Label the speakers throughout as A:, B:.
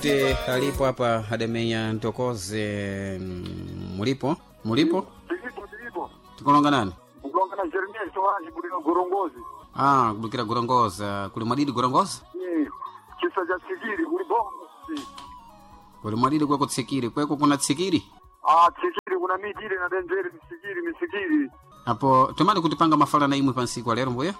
A: Te alipo hapa adamenya ntokoze mulipo mulipo
B: Tilipo tilipo.
A: tikulonga nani?
B: Kulonga na Jeremia Soaji kulika Gorongozi.
A: Ah, kubukira Gorongoza kuli mwadidi Gorongoza
B: Eh, Chisa cha Tsikiri kuli bongo.
A: Kuli mwadidi kweko tsikiri kweko kuna tsikiri
B: Ah, Tsikiri kuna miti ile na denzeri misikiri misikiri.
A: apo tomali kutipanga mafala na imwe pansiku alero mbuya.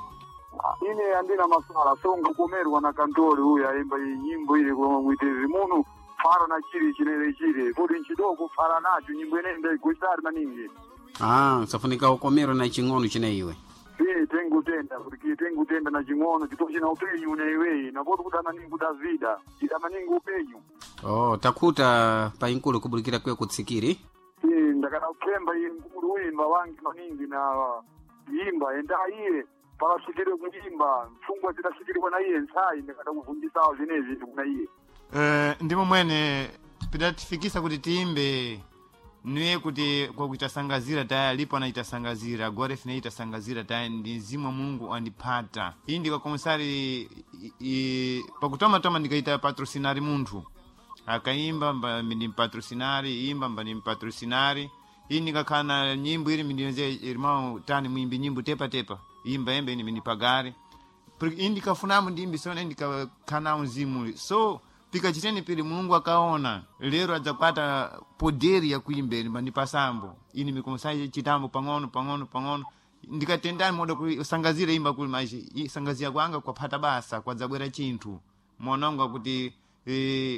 B: Ah, ine andina masala songa kumerwa na kantori uyu aimba iyi nyimbo ile kwa mwitezi munu fara na chiri chinere chire poti nchidoko fara nacho nyimbo ine ndaigusari maningi.
A: Ah, safunika ukomero na ching'ono chine iwe.
B: Iye tengutenda kuti tengutenda na ching'ono chito china upenyu une iweyi napoti kuda maningi kudavida chida maningi upenyu.
A: Oh, takuta pa inkulu kubulikira kweko tsikiri.
B: Iye ndakada kuphemba iye mkulu uyimba wangi maningi na imba enda iye pakasikire kuimba mfungwa zidasikirwa na iye ntsayi ndakada kuvunjisawo zvinezvi kuna iye.
C: Ndimo mwene pidatifikisa kuti tiimbe niye kuti kwakuitasangazira taya alipo anaitasangazira agora ifine itasangazira taya ndi mzimu wa Mulungu andipata iyi ndikakomesari pakutomatoma ndikaita patrocinari munthu akaimba mba ndimpatrocinari imba mba ndimpatrocinari iyi ndikakhala na nyimbo ili mindiyonze irmão tani muimbi nyimbo tepa tepa imba embe ini mindipagare Porque indikafunamo ndimbi sona indikakhala mzimu so pikachiteni pili Mulungu akaona lero adzakwata poderi yakuimbeni mandipasambo ini mikomusayi chitambo pang'ono pang'ono pang'ono ndikatendani moda kusangazira imba kuli maji sangazira kwanga kwaphata basa kwadzabwera chinthu mononga kuti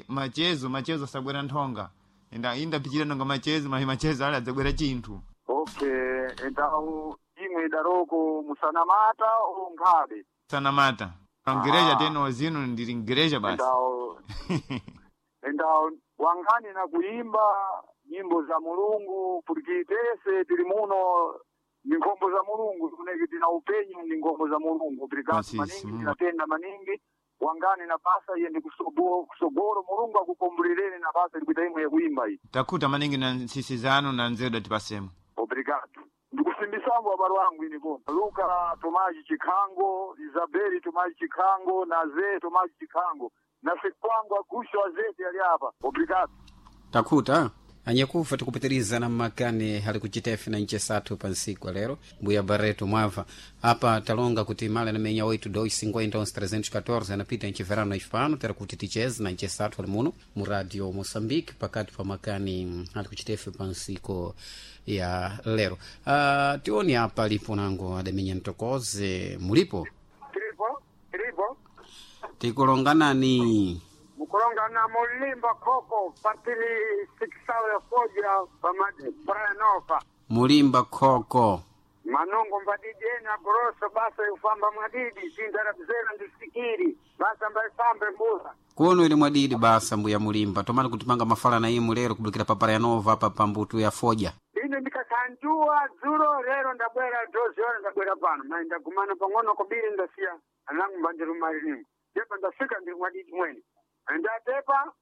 C: machezo machezo asabwera nthonga inda indapichira nonga machezo mahi machezo ali adzabwera chinthu.
B: Okay, endawu imwe idaroko musanamata onkhabe.
C: Sanamata ngereja teno zino ndili ngereja basi.
B: Endawu endawu wangani na kuimba nyimbo za Mulungu porque tese tili muno ni nkhombo za Mulungu tikuneki tina upenyu ni nkhombo za Mulungu pirikati
C: Masisi,
B: maningi
C: Mungu.
B: tinatenda maningi wangani na basa iye ndi kusogolo Mulungu akukombulireni na basa likuita imwe yakuimba iyi.
C: Takuta maningi na nsisi zanu na nzeru datipasemo.
B: Obrigado. Ndikusimbisambo abalo wangu ini kono. Luka Tomaji Chikhango, Isabeli Tomaji Chikhango, Naze Tomaji Chikhango. Na sikwangu agusho azete ali apa. Obrigado.
A: Takuta anyakufa tikupitiriza na makani hali kuchitefe na nche sathu pa nsiku lero mbuya Barreto mwava apa talonga kuti mala namenya 8 2 50 314 anapita nche verano ifano tera kuti ticheze na nche sathu ali muno mu radio Moçambique pakati pa makani hali kuchitefe pa nsiku ya lero. Tioni apa lipo nango adamenya ntokoze mulipo.
B: Tilipo, tilipo.
A: Tikulonganani
B: Mukulongana mulimba khoko patili 6 ya foja pa Praia Nova.
A: Mulimba khoko.
B: Manongo mbadidi ena grosso basa yufamba mwadidi tindarabzera ndisikiri basa mbaifambe mbuza.
A: Kuno ili mwadidi basa mbuya mulimba tomali kutipanga mafala na imu lero kubulikira pa Praia Nova apa pa mbutu ya foja.
B: Ine ndikakhanjuwa dzulo lero ndabwera doziona ndabwera pano mai ndagumana pang'ono kobiri ndasiya anangu mbandirumaliningo tepa ndafika ndiri mwadidi mwene ndatepa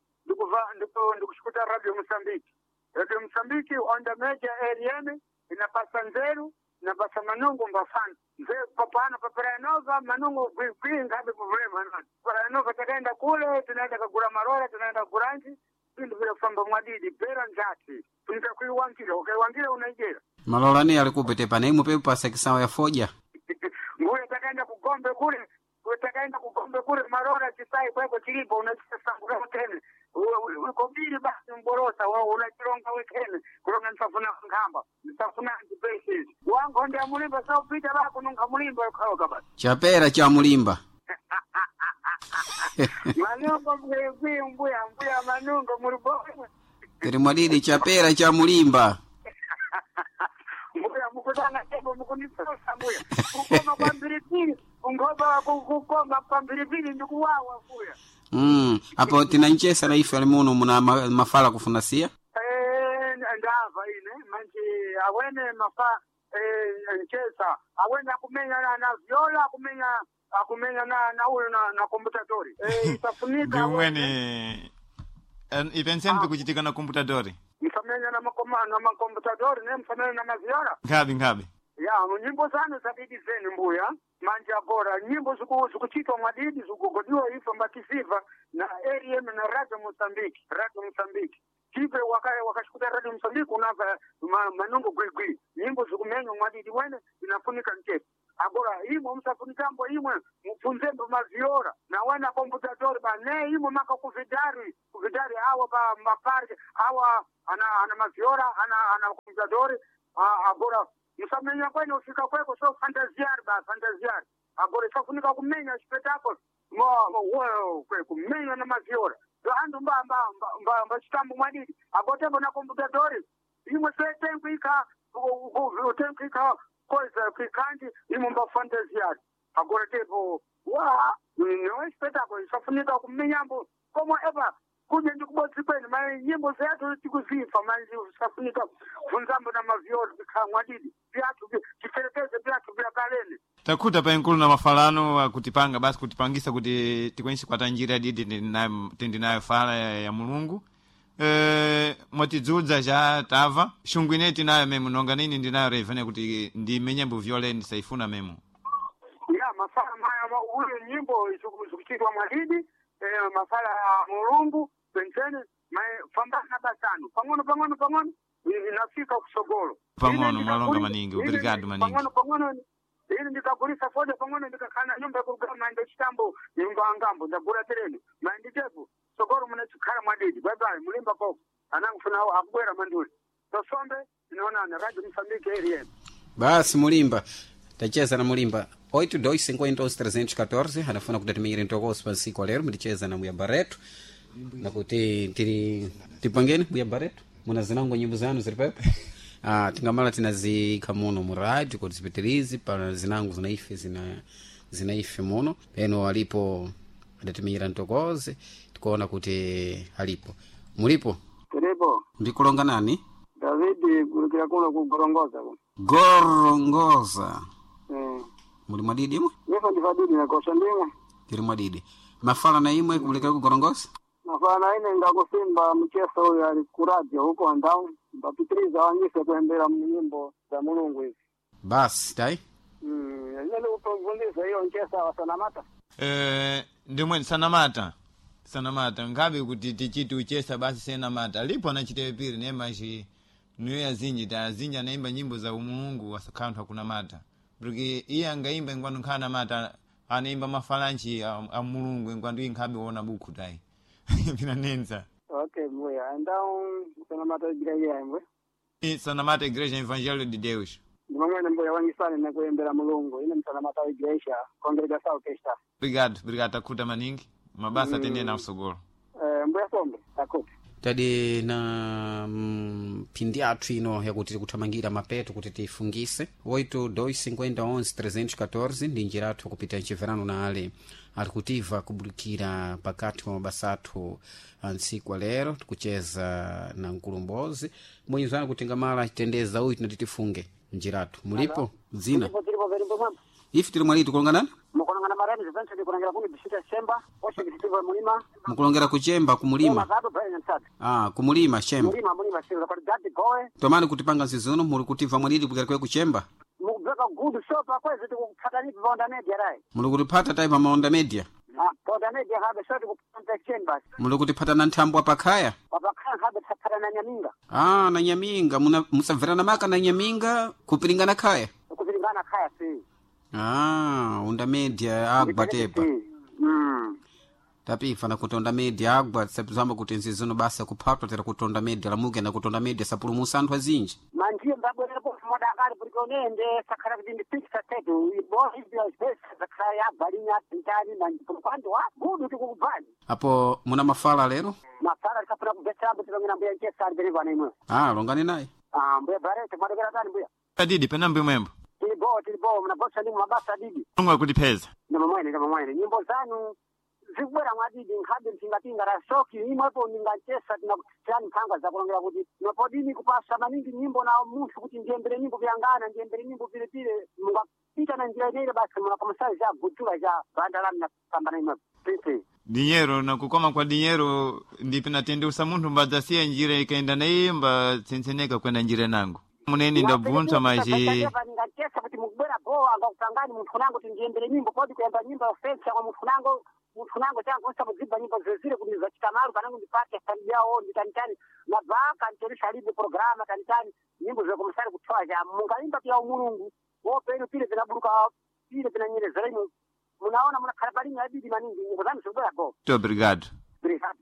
B: ndikushukuta radio Mosambiki. Radio Mosambiki on the major area inapasa nzeru inapasa manungu mbafana nzeru papano pa Praia Nova manungu gwigwi ngabe problema nani Praia Nova takaenda kule tunaenda kagura marora tunaenda kuranji vindu vile kufamba mwadidi pera njati tunika kuiwangira ukaiwangira unaijera.
A: Malolani alikupe tepa na imu pepe pa sekisawa ya foja.
B: Nguye takaenda kugombe kule takaenda kugombe kule marora chisai kweko chilipo unachisangura utene ukobiri basi mborosa wa unachironga wekene kulonga nsafuna nkhamba nsafuna antibasis wangu ndi amulimba saupita bako nunga mulimba ukhaoka basi.
A: Chapera cha mulimba.
B: Manungo mgwegwi mbuya mbuya manungo mulibowe.
A: Tiri mwadidi chapera cha mulimba.
B: Mbuya mukutana tebo mukunisosa mbuya kukoma kwa mphiripiri ungoba kukoma kwa mphiripiri ndikuwawa mbuya.
A: Apo tinanchesa na ife ali muno muna mafala kufuna siya.
B: Eh, ndava ine manje awene mafa nchesa awene akumenya na viola akumenya akumenya na uyu na computatori itafunika.
C: Ndi umwene ipenseni pikuchitika na computadori.
B: Msamenya na makoma na makomputadori ne msamenya na maviola.
C: Nkhabe nkhabe.
B: Ya nyimbo zanu zabidi zenu mbuya. Manje agora nyimbo zikuchitwa mwadidi zikugodiwa ife mbatisiva na RM na Radio Mozambique, Radio Mozambique. Tipe wakashikuta Radio Mozambique unava manungo gwigwi. Nyimbo zikumenywa mwadidi wene inafunika mchepo. Agora imwe msafunikambo imwe mupfunzembo maviora na wana komputadori ba ne imwe maka kuvidari kuvidari awa ba maparke awa ana maviora ana komputadori agora musamenya kwene ufika kweko so fantaziari ba fantaziari agora isafunika kumenya espetáculo kumenya na maviora antu mba chitambo mwadidi agotembo na komputadori imwe se tenkuika tenkuika coisa kuikanti imwe mba fantaziari agora tepo wa no espetáculo isafunika kumenyambo como epa kuje ndikubodzi kwene mai nyimbo zeyathu tikuzifa manje safunika bvunzambo na maviori vikhamwa didi vyathu tiperekeze vyathu vya kalene
C: Takhuta pa enkulu na mafalano akutipanga basi kutipangisa kuti tikwanise kukwata njira didi tindinayo fala ya Mulungu. Mwatidzudza cha tava xungu ineyi tinayo memo nonga nini ndinayo revene kuti ndimenyembo violeni saifuna memo
B: ya mafala maya uyo nyimbo zikuchitwa mwadidi mafala ya Mulungu penseni fambana basanu pang'ono pang'ono pang'ono inafika kusogolo
C: Pang'ono, mwalonga maningi, obrigado maningi.
B: Pang'ono pang'ono ini ndikagulisa foda pang'ono ndikakhala nyumba yakurugama maende chitambo nyumba angambo ndagula tereni maende tepo sogolo munachikhala mwadidi bye bye mulimba koko anangufuna akubwera manduli tosombe tinaonana Radio Mozambique RM
A: Basi mulimba tacheza na mulimba 8251314 anafuna kuti atimenyere ntokoso pansiku lero muticheza na mbuya Barreto nakuti tiri tipangeni mbuya Barreto muna zinango nyimbo zanu ziri pepo tingamala tinaziyikha muno mu radio kuti zipitirize pa zinango zinaife zinaife muno peno alipo adatimenyera ntokoze tikuona kuti alipo mulipo
B: Tiripo
A: ndikulonga nani
B: David kulikira kuno kugorongoza kuno
A: gorongoza muli mwadidi imwe
B: Nifa ndifadidi nakosha ndimwe
A: tiri mwadidi mafala na imwe kulikira kugorongoza
B: mafala ine ngakusimba mcheso uyo ali kuradio huko andau mbapitiriza wanyise kuembera nyimbo za Mulungu hizi
A: basi tai
B: ine nikupfundisa hiyo nchesa wasanamata
C: Ndimweni sanamata ngabe kuti tichiti uchesa basi senamata lipo anachitewe piri nemaxi niyo azinji ta azinji anaimba nyimbo za umulungu wasakhala akunamata porque iye angaimba ingwanu nkhala namata anaimba mafalanchi a mulungu ingwandu inkhabe wona bukhu tayi pinanenza
B: okay mbuya andau sanamata igreja imwe
C: sanamata igreja evangelho de Deus
B: ndimamwene mbuya wangisane nekuembera Mulungu ine msanamata igreja congregação kesta
C: obrigado obrigado takhuta maningi mabasa atendere na usogolo
B: mbuya sombe takuti
A: tadi na mphindi athu ino yakuti tikuthamangira mapeto kuti tifungise 8251314 ndi njira athu kupita mchiverano na ale ali kutiva kubulikira pakati pa mabasa athu a ntsiku lero tikucheza na mkulumbozi mwenyezana kuti ngamala titendeza uyu tinati tifunge njira athu mulipo dzina
B: tiripo verimbo mwembo
A: ife tili mwaliti kulonganani
B: mukulongana marani Vincent kulongera kuni bisita semba oshe bisitivo mulima
A: mukulongera kuchemba kumulima
B: mazado Brian Msad
A: kumulima chemba
B: mulima mulima sio kwa dadi goe
A: tomani kutipanga nzizuno muli kutiva mwaliti kukera kwe kuchemba
B: mukubveka gudu sopa kwezi tikupfata nipi paonda media rai
A: muli kutipata tai pamaonda media
B: paonda media habe so tikupata chain basi
A: muli kutipata na nthambwa pakhaya
B: papakhaya habe tsapata na nyaminga
A: na nyaminga musabverana maka na nyaminga kupiringana khaya
B: kupilingana khaya si
A: onda media agwa tepa tapifa na kutonda media agwa sapizamba kuti nzizuno basa kuphatwa tera kutonda media lamuke na kutonda media sapulumusa anthu azinji
B: manjiye mbabwerera modakali kuti onende sakhala kuti ndi picture tetu sakhala yabvalinya tintani manjipando wa gudu tikukubvani
A: apo muna mafala lero
B: mafala tikafuna kubvetserambo tilongera mbuya nchesa ali penepano imwe
A: longani naye
B: mbuya barete mwadekera tani mbuya
C: adidi penambo imwembo
B: tilibo tilibo mnabosa ndimwe mabasa adidi
C: mulungu akutipeza
B: ndamamwene ndamamwene nyimbo zanu zikubwera mwadidi nkhabe mpingapinga la soki imwepo ndingachesa tinani mphanga zakulongera kuti nopodini kupasa maningi nyimbo na munthu kuti ndiyembere nyimbo vyangana ndiyembere nyimbo pilepile mungapita na njira ineile basi munakomasai za gudula za banda lanu napambana imwepo pipi
C: dinyero na kukoma kwa dinyero ndipi natendeusa munthu mbadzasiya njira ikaenda naye mbatsenseneka kwenda njira nangu muneni ndabvunza maji
B: ndingachesa kuti mukubwera bowa Ngakupangani munthu nango tindiyembere nyimbo podi kuyamba nyimbo ya ofensa kwa munthu nango munthu nango changu nsamudzibva nyimbo zezire kuti zachita malu panango ndipate yawo nditanitani nabvaka ntorisha libe programa tanitani nyimbo zakomusari kuthowa ja mungaimba pya umulungu wopenu pile pinaburuka pile pinanyerezera inu munaona munakhala palinyi abidi maningi nyimbo zanu zikubwera go
C: Muito obrigado.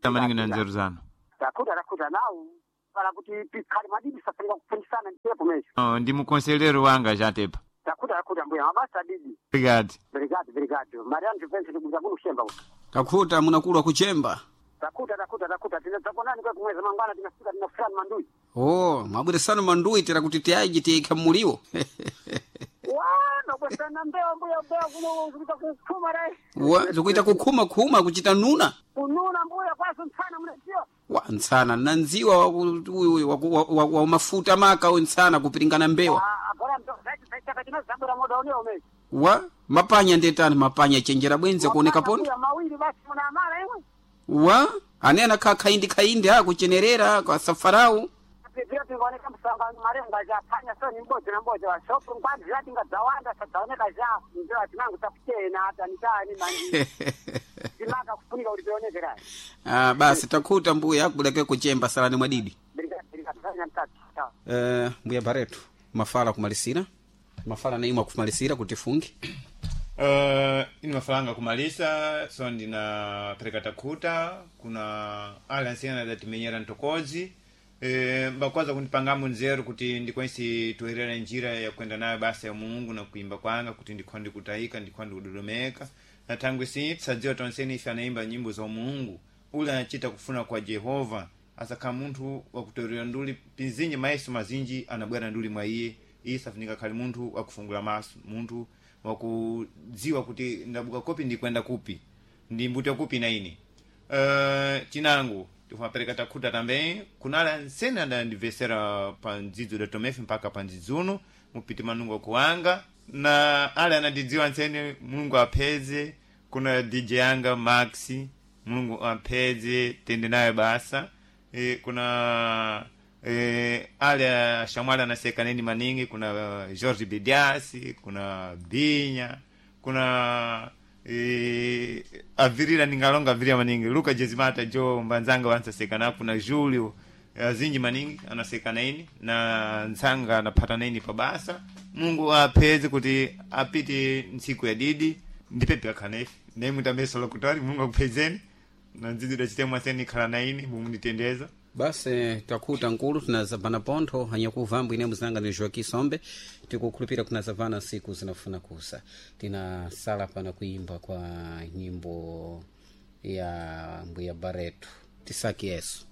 C: Tamaningi na nzeru zanu.
B: Takuta takuta nawu para kuti pikhale madidi safanira kufundisana ndipo mesho.
C: Oh, ndi mukonselero wanga jatepa.
B: Takuta takuta mbuya mabasa didi.
C: Obrigado.
B: Obrigado, obrigado. Mariano Juventus ndikuza kuno kuchemba uko.
A: Takhuta munakulwa kuchemba.
B: Takuta takuta takuta tinadzakonani kwa kumweza mangwana tinafika tinafika mandui.
A: Oh, mwabweresano mandui tera kuti tiaji tiikha muliwo.
B: Wa nobwesana mbewa mbuya mbewa kuno zikuita kukhuma rai.
A: Wa zikuita kukhuma khuma kuchita nuna.
B: Kununa mbuya kwaso ntsana munadziwa.
A: Wa ntsana nandziwa wa, wa, wa, wa mafuta maka uyu ntsana kupiringana mbewa.
B: Ah, agora ndo chaka chino zabwera moda unewo mezi.
A: Wa mapanya ndetani mapanya chenjera bwenze kuoneka pondo.
B: Mbuya mawiri basi munamala imwe.
A: Wa ane anakhala khaindi khaindi ha kuchenerera kwa safarau.
B: Pipira tingaoneka msanga marenga ja panya so ni mbodzi na mbodzi wa shopu ngwanzi zati ngadzawanda sadzaoneka ja ndio tinangu takuchena hata nitani mandi. Timaka kufunika kuti tionekerai.
A: Ah, basi takhuta mbuya akubuleke kuchemba salani mwadidi.
B: Obrigado, obrigado. Fanya mtatu. Tchau.
A: Mbuya Barreto mafala kumalisira mafala naimwe akumalisira kuti fungi.
C: Ine mafalanga kumalisa so ndinapereka takhuta kuna ale ansiyana adatimenyera ntokozi mbakwaza kundipangamo nzeru kuti ndikwanise toerera njira ya kuenda nayo basa ya mulungu na kuimba kwanga kuti ndikhwa ndikutayika ndikhwa ndikudodomeka na thangwe si tisadziwa tonseni ife anaimba nyimbo za mulungu ule anachita kufuna kwa jehova asakhala munthu wakutoerera nduli pinzinji mayeso mazinji anabwera nduli mwa iye iye safunika khali munthu wakufungula maso munthu wakudziwa kuti ndabuka kopi ndikwenda kupi ndi mbuto kupi na ine chinangu tifumapereka takhuta tambe kunala nsene adandibvesera pa ndzidzo da tomefe mpaka pa ndzidzo uno mupiti manungo kuwanga na ale anandidziwa ntsene mulungu apeze kuna dj yanga maxi mulungu apeze tende naye basa kuna ale ashamwali anaseka neni maningi kuna george bidiasi kuna binya kuna avirira ningalonga avirira maningi luka jezimata jo mbanzanga wansaseka na kuna julio azinji maningi anaseka naini na ntsanga anaphata naini pabasa mungu apeze kuti apite ntsiku ya didi ndipepe akhanefe naimutambeso lokutori mungu akupezeni na ndzidzi dachitemwa aseni ikhala naini mumunditendeza.
A: Basi takhuta nkulu tinazabvana pontho hanyakuvambo ine muzanga ni Joaquim Sombe tikukhulupira kunazabvana siku zinafuna kusa tinasala pana kuimba kwa nyimbo ya mbuya Barreto tisaki yesu.